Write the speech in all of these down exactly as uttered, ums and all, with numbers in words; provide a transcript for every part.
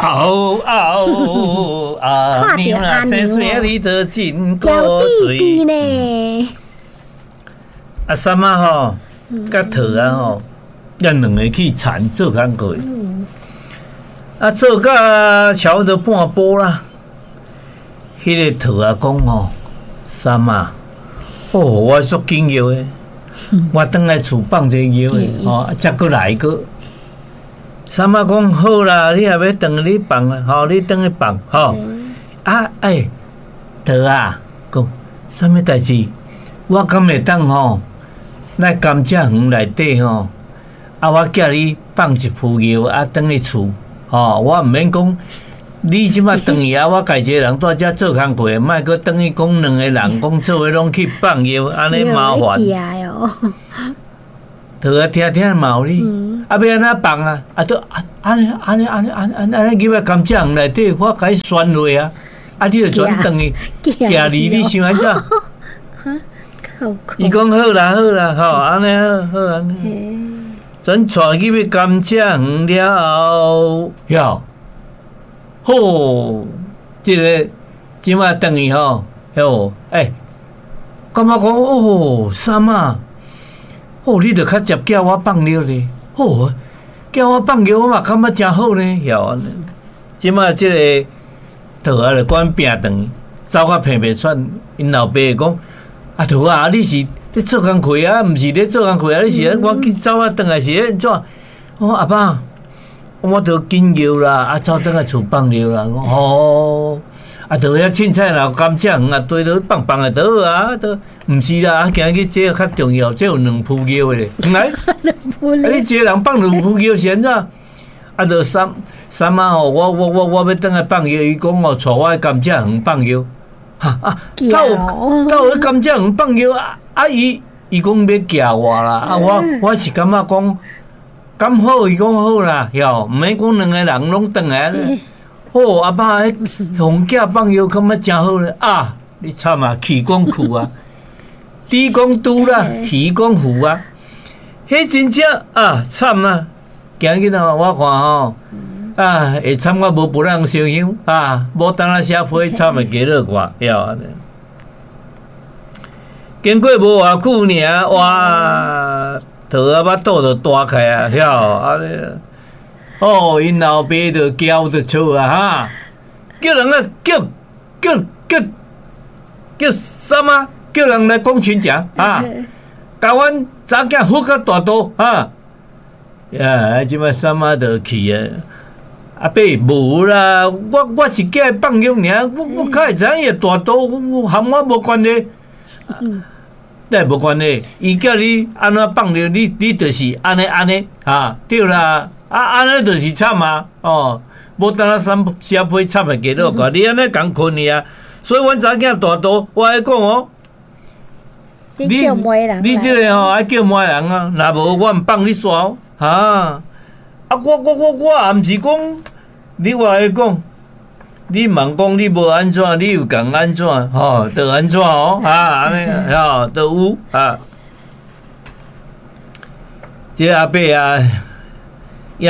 嗷嗷阿娘啊，生细你都真古娇錐。弟弟呢？啊，三仔吼，佮桃仔吼，咱两个去田做工课。啊，做到差不多半晡啦。彼个桃仔讲吼，三仔，哦，我足紧尿的，我转来厝放一个尿的，吼，才阁来阁。三仔讲好啦，你若欲转你放啦，吼，你转去放，吼。啊，欸，桃仔，讲啥物代志？我敢会当吼，来甘蔗园内底吼，啊，我叫你放一浡尿，啊，转去厝，吼，我毋免讲，你這擺轉去啊，我家己一个人蹛遮做工課，莫閣轉去講兩個人講做伙攏去放尿，按呢麻煩。桃仔聽聽嘛有理，啊，欲按怎放啊？啊，都按呢按呢按呢按按按呢入來甘蔗園內底，我共你旋落啊！啊，你就轉轉去，行離你想按怎？伊講好啦好啦，吼，按呢好好按呢。轉帶入去甘蔗園了後，喲，好，這个這擺轉去吼，喲，欸，感覺講哦，三仔，哦，你著較捷叫我放尿咧，哦，叫我放尿，我嘛感覺誠好呢，喲，按呢。這擺這个桃仔就管拚轉去，走甲伻袂喘，𪜶老爸講：啊，桃仔，你是咧做工課啊？毋是咧做工課啊？你是咧趕緊走啊？轉來是咧按怎？我講阿爸，我著緊尿啦，啊，走轉來厝放尿啦。講哦，啊，著遐凊彩若甘蔗園啊，堆落放放就好啊，都毋是啦，啊，今日這個較重要，這有兩浡尿的咧，來，啊，你一個人放兩浡尿是按怎？啊，著三三仔吼，我我我我欲轉來放尿，伊講哦，帶我去甘蔗園放尿，哈啊，敢有敢有去甘蔗園放尿啊？啊，伊伊講欲寄我啦，啊，我我是感覺講，敢好，伊講好啦，喲，毋免講兩個人攏轉來。哦，阿爸，彼予囝放尿感覺誠好咧啊！你慘啊，氣講去啊，豬講豬啦，魚講魚啊，彼真正啊慘啊！今日吼，我看吼，啊，會慘甲無別人相向啊，無當仔寫批慘會加落看，曉。經過無偌久爾，哇，桃仔腹肚就大開啊，曉啊！哦，𪜶老爸就叫就笑啊，哈！叫人啊，叫叫叫叫啥物？叫人來講親情啊！共阮查某囝腹較大肚啊！呀，這擺三仔就去啊！阿伯無啦，我我是叫伊放尿爾，我我較會知影伊會大肚，和我無關係。那無關係，伊叫你按怎放尿，你你就是按呢按呢啊，對啦，啊按呢就是慘啊，哦，無當仔寫批慘的結果，你按呢共困去啊，所以阮查某囝大肚，我愛講哦，你你這个吼愛叫媒人啊，若無我毋放你煞哦，哈，啊我我我我也毋是講，你話愛講。你茫講你無按怎，你又共按怎？吼，就按怎哦？啊，按呢，吼，就有啊。這個阿伯啊，也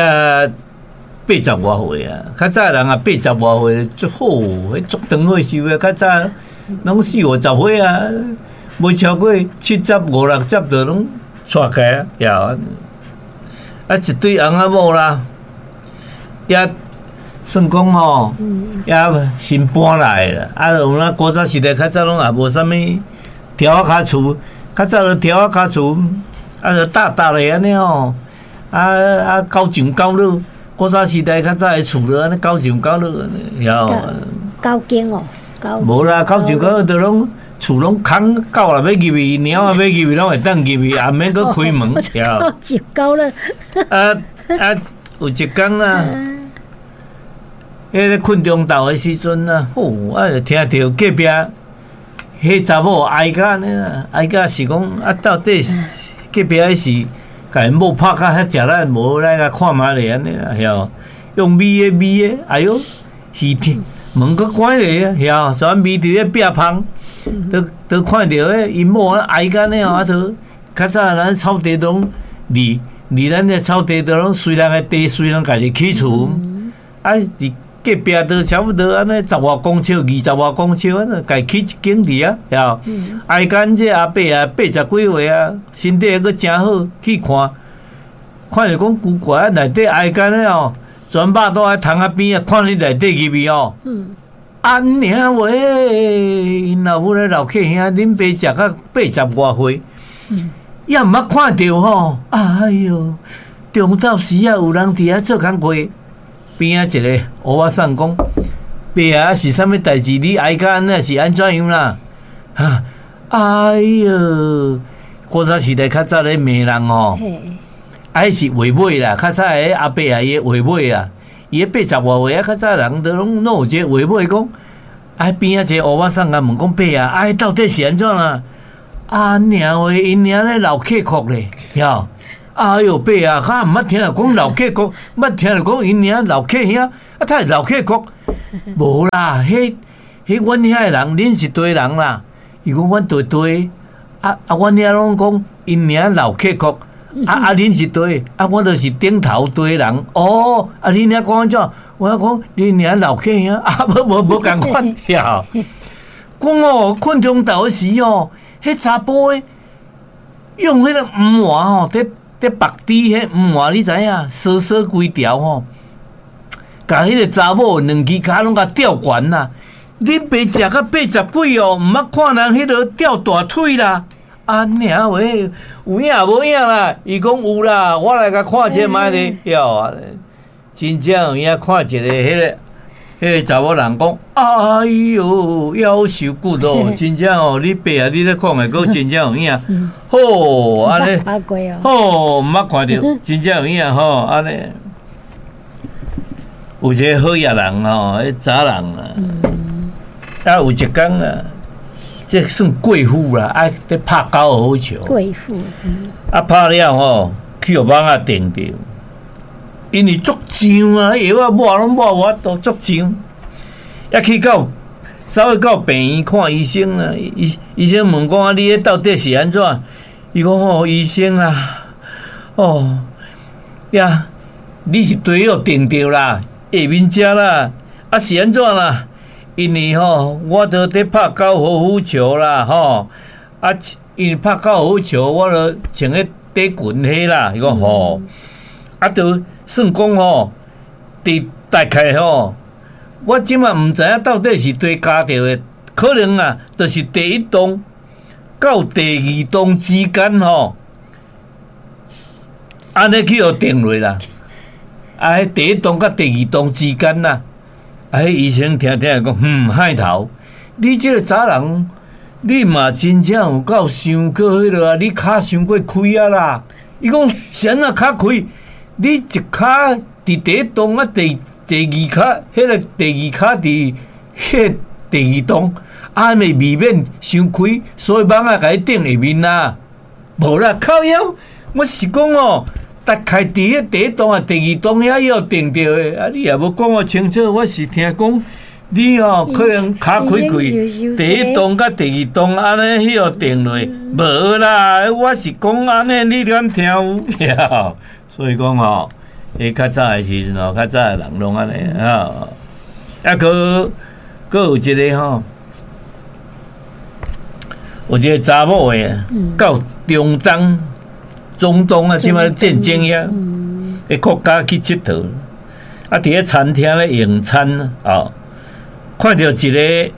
八十外歲啊。較早人啊，八十外歲足好，彼足長歲壽的。較早攏四五十歲啊，袂超過七十五六十就攏逝去啊。也啊，一對翁仔某啦，也。算講吼，也新搬來啦。啊，有影古早時代較早攏也無啥物柱仔跤厝，較早就柱仔跤厝，啊，就搭搭咧按呢吼。啊啊，九上九落，古早時代較早的厝就按呢九上九落按呢，曉。九間哦，無啦，九上九落就攏厝攏空，狗若欲入去，貓仔欲入去，攏會當入去，也毋免閣開門，曉。九上九落。啊啊，有一工啊。彼个睏中晝的時陣啊，吼，啊，就聽著隔壁彼查某哀甲按呢啦，哀甲是講啊，到底隔壁彼是共𪜶某拍甲遐食力，無來共看覓咧按呢啦，曉？用味的味的，哎喲，耳聽門閣關咧啊，曉？煞聞著彼壁芳，都都看著彼𪜶某哀甲按呢吼，啊，都較早咱草地攏離離咱的草地都攏隨人的地，隨人家己起厝。啊，佇隔壁都差不多按呢十外公尺、二十外公尺，按呢共起一間佇啊，了。挨間這阿伯啊，八十幾歲啊，身體閣誠好，去看，看著講奇怪啊，內底挨間的哦，全肉肚佇窗仔邊啊，看你內底入去哦。按呢話，𪜶老母咧老客兄，恁爸食甲八十外歲，也毋捌看著吼。哎喲，中晝時啊，有人佇遐做工課，邊仔一個烏仔送講：爸啊，是啥物代誌？你哀甲按呢是按怎樣啦？哈，哎喲，古早時代較早咧罵人吼，啊，彼是話尾啦，較早的阿伯啊，伊的話尾啊。伊彼八十外歲啊，較早人都攏攏有這個話尾講，啊邊仔一個烏仔送共問講伯啊，啊到底是按怎啊？啊娘話𪜶娘咧老客國咧，曉？哎喲伯啊，較毋捌聽著講老客國，捌聽著講𪜶娘老客兄，啊他是老客國，無啦，彼彼阮遐的人，恁是佗人啦？伊講阮佗佗，啊啊，阮遐攏講𪜶娘老客國。啊啊！恁是佗？啊，我就是頂頭佗人。哦，啊，恁遐講按怎？我講恁娘老客兄，啊，無無無仝款呀。講哦，睏中晝時哦，彼查埔的用彼個黃糜吼，佇佇縛豬彼黃糜，你知影？鎖鎖規條吼，共彼個查某兩支跤攏共吊懸啦。恁爸食甲八十幾哦，毋捌看人彼落吊大腿啦。啊娘話有影無影啦？伊講有啦，我來共看一下覓咧。喲，真正有影看一个彼个彼个查某人講，哎喲，夭壽骨哦，真正哦，你爸啊，你咧講的閣真正有影。好，按呢，好，毋捌看著，真正有影吼，按呢。有一个好野人吼，彼查人啊，啊有一工啊。這算貴婦啦，啊，佇拍高爾夫球。貴婦，啊，拍了吼，去予網仔電著，因為足脹啊，藥仔抹攏抹無法度，足脹。一去到走去到病院看醫生啊，醫醫生問講啊，你彼到底是按怎？伊講哦，醫生啊，哦，呀，你是地予電著啦，下面遮啦，啊是按怎啦？因為吼，我都佇拍高爾夫球啦，吼，啊，因為拍高爾夫球，我都穿彼短裙彼啦，伊講吼，啊，都算講吼，佇大概吼，我這馬毋知影到底是佗咬著的，可能啊，就是第一洞到第二洞之間吼，按呢去予電落啦，啊，彼第一洞佮第二洞之間啦。啊！彼醫生聽聽講，嗯，害頭，你這個查人，你嘛真正有夠傷過彼落啊！你跤傷過開啊啦！伊講是按怎較開？你一跤佇第一洞啊，第第二跤，彼個第二跤佇彼個第二洞，啊，咪未免傷開，所以網仔共你釘下面啦。無啦，靠腰，我是講哦。大概佇彼第一洞啊，第二洞遐予電著的，啊，你也無講我清楚，我是聽講你哦，可能跤開開，第一洞佮第二洞按呢彼予電落，無啦，我是講按呢，你敢聽有？所以講吼，彼較早的時陣吼，較早的人攏按呢啊，啊，閣閣有一個吼，有一個查某的到中東。中東啊，這擺戰爭遐，彼國家去𨑨迌，啊，佇咧餐廳咧用餐啊，看著一个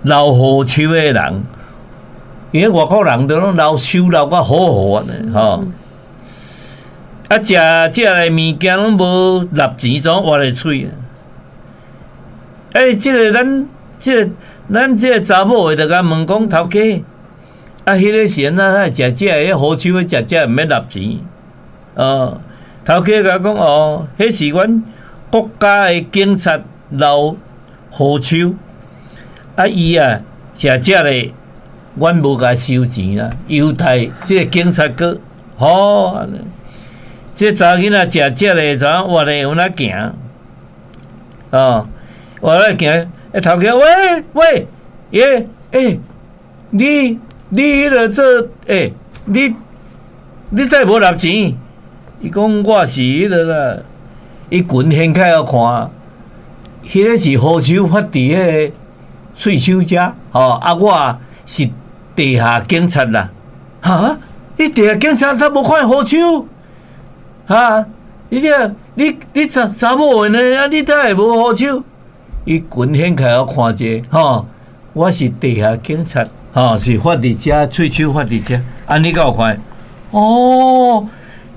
留鬍鬚的人，因為外國人都攏留鬚留甲好好按呢吼，啊，食食的物件攏無納錢，怎挖咧喙？欸，這个咱這个咱這个查某的就共問講頭家。啊，彼个是按怎？食這个鬍鬚的食這毋免納錢，哦，頭家共講哦，彼是阮國家的警察留鬍鬚，啊伊啊食這个，阮無共收錢啦。猶太這个警察局，吼，這查囡仔食這个，怎活咧有哪行？哦，活咧行，欸頭家喂喂，耶，欸，你。你彼个做，欸，你你載無納錢？伊講我是彼个啦，伊裙掀開予看，彼个是和尚發佇彼個喙鬚遮，吼啊，我是地下警察啦。哈？你地下警察他無看和尚？哈？你這你你查查某的呢？啊，你哪會無和尚？伊裙掀開我看者，吼，我是地下警察，吼，是發佇遮，喙鬚發佇遮，啊，你敢有看？哦，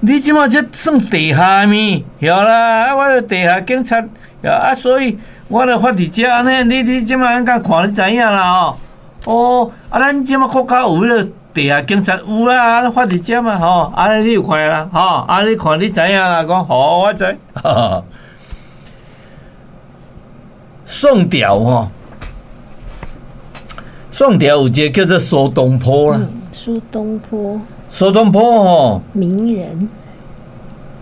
你這馬這算地下物，曉啦，啊，我是地下警察，啊，所以我著發佇遮按呢，你你這馬按怎看你知影啦吼？哦，啊，咱這馬國家有彼個地下警察有啦，啊，發佇遮嘛吼，按呢你有看啦，吼，啊，你看你知影啦，講好，我知。宋朝吼，宋朝有一個叫做蘇東坡啦。蘇東坡。蘇東坡吼，名人。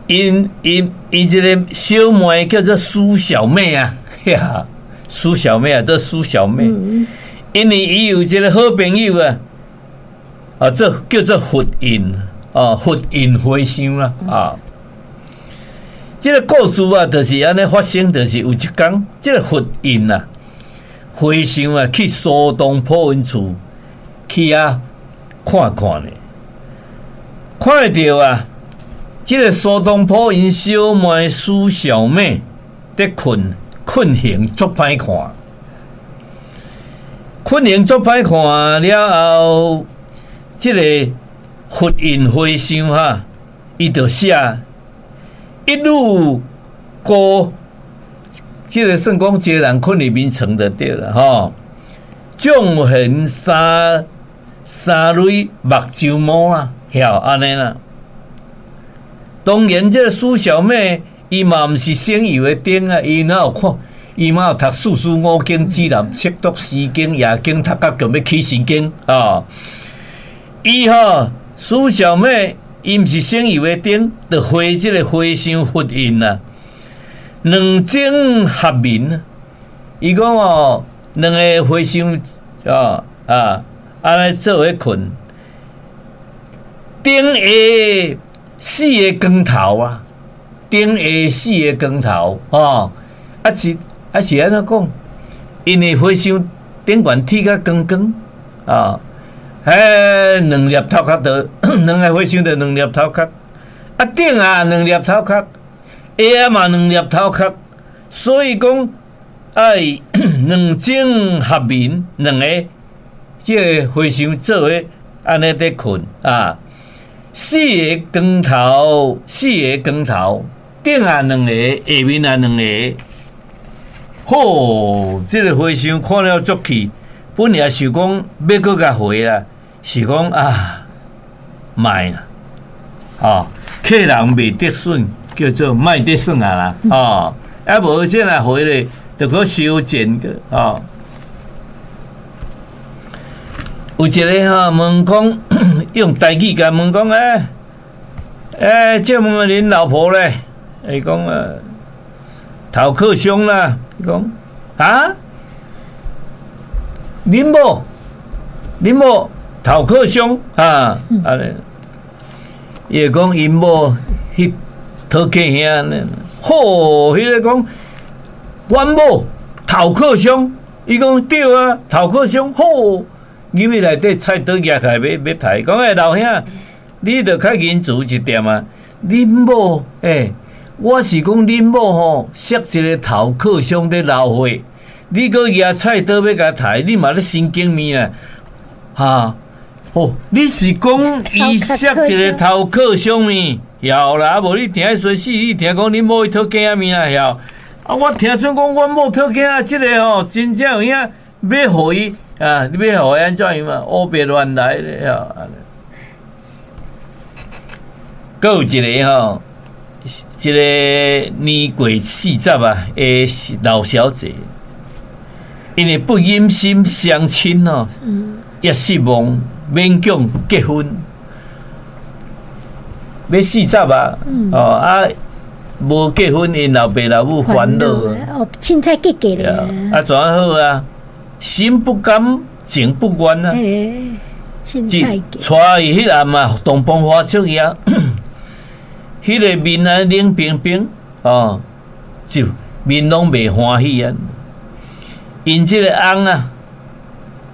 𪜶𪜶𪜶一個小妹叫做蘇小妹啊，呀，蘇小妹啊，這蘇小妹，因為伊有一個好朋友啊，啊，這叫做佛印啊，佛印和尚啦，啊。這個故事啊，就是按呢發生，就是有一工，這個佛印啊，和尚啊，去蘇東坡𪜶厝去遐看看咧，看著啊，這個蘇東坡𪜶小妹蘇小妹佇睏，睏形足歹看，睏形足歹看了後，這個佛印和尚哈，伊就寫一女孤，這個算講一個人睏佇眠床就對啦吼。縱橫三三蕊目睭毛啦，曉按呢啦。當然，這個蘇小妹伊嘛毋是省油的燈啊，伊哪有看？伊嘛有讀四書五經、指南、釋讀詩經、易經，讀甲強欲起神經啊！伊吼蘇小妹，伊毋是省油的燈，就回這個和尚佛印啊，兩枕合眠。伊講哦，兩个和尚啊啊，按呢做伙睏，頂下四个光頭啊，頂下四个光頭哦，啊是啊是按怎講？因為和尚頂懸剃甲光光啊，彼兩粒頭殼就兩个和尚就兩粒頭殼，啊頂下兩粒頭殼，下嘛兩粒頭殼，所以講愛兩枕合眠，兩個這个和尚做伙按呢佇睏啊，四个光頭，四个光頭，頂下兩个，下面也兩个。好，這个和尚看了足氣，本來想講欲閣共回啦，是講啊，莫啦，哦，客人袂得順，叫做莫得耍啊啦，哦，啊無這若回咧，就閣收錢個，哦。有一个吼問講，用台語共問講，欸，欸，借問恁老婆咧？伊講啊，頭殼傷啦。伊講啊，恁某，恁某頭殼傷啊？按呢，伊會講𪜶某彼討客兄呢？好，彼个講，阮某頭殼傷，伊講對啊，頭殼傷，好，入去內底菜刀舉起來欲欲刣，講欸老兄，你著較仁慈一點啊！恁某欸，我是講恁某吼，摔一个頭殼傷佇流血，你閣舉菜刀欲共刣，你嘛咧神經病啊！哈，哦，你是講伊摔一個頭殼傷物？曉啦，啊無你聽彼衰死，你聽講恁某去討囝物啊？曉啊，我聽說講阮某討囝啊，這个吼真正有影，欲予伊啊，你欲予伊按怎樣嘛？烏白亂來咧啊！閣有一个吼，一个年過四十啊的老小姐，因為不忍心雙親吼，也失望，勉強結婚，欲四十啊，哦啊，無結婚，𪜶老爸老母煩惱哦，凊彩結結咧。啊，怎好啊？心不甘，情不願啊。凊彩娶伊彼暗啊，洞房花燭夜，彼个面啊冷冰冰，哦，就面攏袂歡喜啊。𪜶這个翁啊，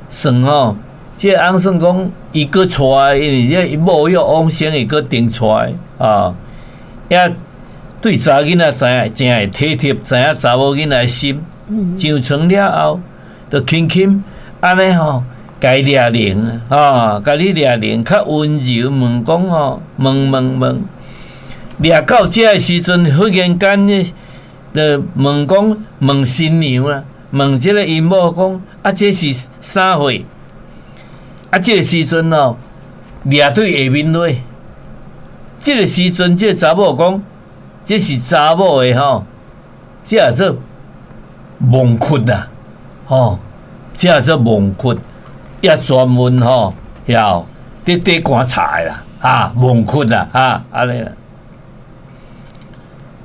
算吼，這个翁算講伊閣娶，因為這伊某欲往生，伊閣重娶啊。也對查囡仔知影，誠會體貼，知影查某囡仔的心。上床了後，就輕輕按呢吼，共伊掠靈啊，共你掠靈，較溫柔問講吼，問問問，掠到這个時陣，忽然間呢，就問講問新娘啊，問這个𪜶某講，啊，這是啥貨？啊，這個時陣哦，掠對下面落，這個時陣，這個查某講，這是查某的吼，這叫做墓窟啊，吼，這叫做墓窟，也專門吼，要佇底棺材的啦，啊，墓窟啊，啊，按呢啦。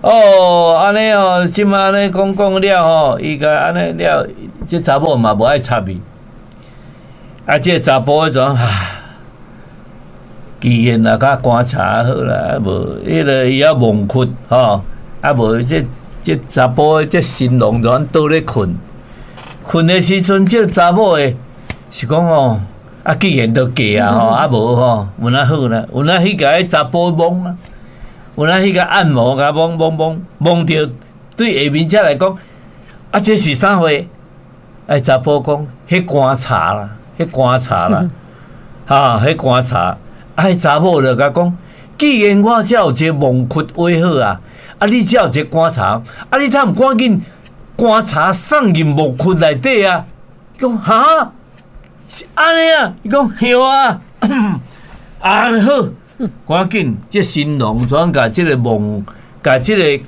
哦，按呢哦，這馬按呢講講了吼，伊共按呢了，這查某嘛無愛插伊。啊，這個查埔彼陣啊，既然若較棺材好啦，啊無，彼个伊猶墓窟吼，啊無這這查埔這新郎就按倒咧睏，睏的時陣，這個查某的是講吼，啊既然都嫁啊吼，啊無吼，有哪好啦，有哪去共彼查埔摸啊，有哪去共按摩，共摸摸摸摸著，對下面者來講，啊這是啥貨？哎，查埔講，彼棺材啦，彼棺材啦，哈，彼棺材，啊，彼查某就共講，既然我遮有一个墓窟畫好啊，啊，你遮有一个棺材，啊，你通毋趕緊棺材送入墓窟內底啊？伊講哈，是按呢啊？伊講對啊，按呢好，趕緊，這新郎怎共這个墓，共這个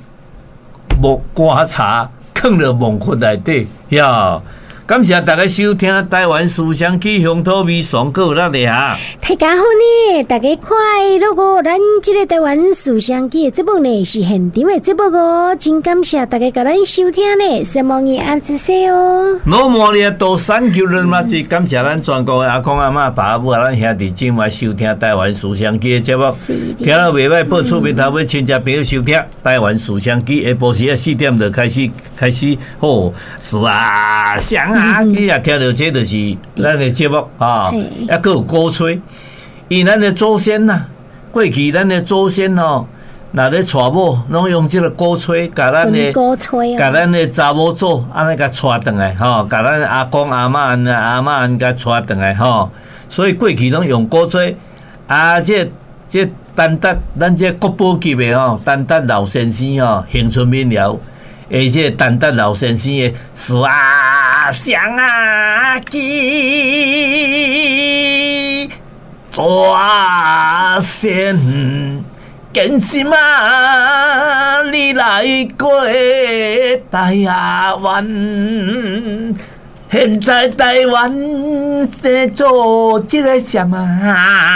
墓棺材囥佇墓窟內底，呀。感謝大家收聽台灣思想起鄉土味爽，閣有咱的哈。大家好呢，大家快樂哦！咱這个台灣思想起的節目呢是現場的節目哦，真感謝大家共咱收聽呢，希望你按支持哦。老莫咧都三九人嘛，是感謝咱全國的阿公阿嬤、爸母啊，咱兄弟姊妹收聽台灣思想起的節目，聽了袂䆀，報厝邊頭尾親戚朋友收聽台灣思想起，下晡時仔四點就開始開始好，是啊，想啊。你也聽著這就是咱的節目啊，猶閣有鼓吹，因為咱的祖先呐，過去咱的祖先吼，若咧娶某，攏用這个鼓吹，共咱的，共咱的查某祖按呢共娶轉來吼，共咱阿公阿嬤、阿嬤按共娶轉來吼，所以過去攏用鼓吹啊，這這陳達咱這國寶級的吼，陳達老先生吼，恆春民謠。而且陳達老先生的思想啊，起轉線堅心啊，你來過台灣，現在台灣生做這个啥啊？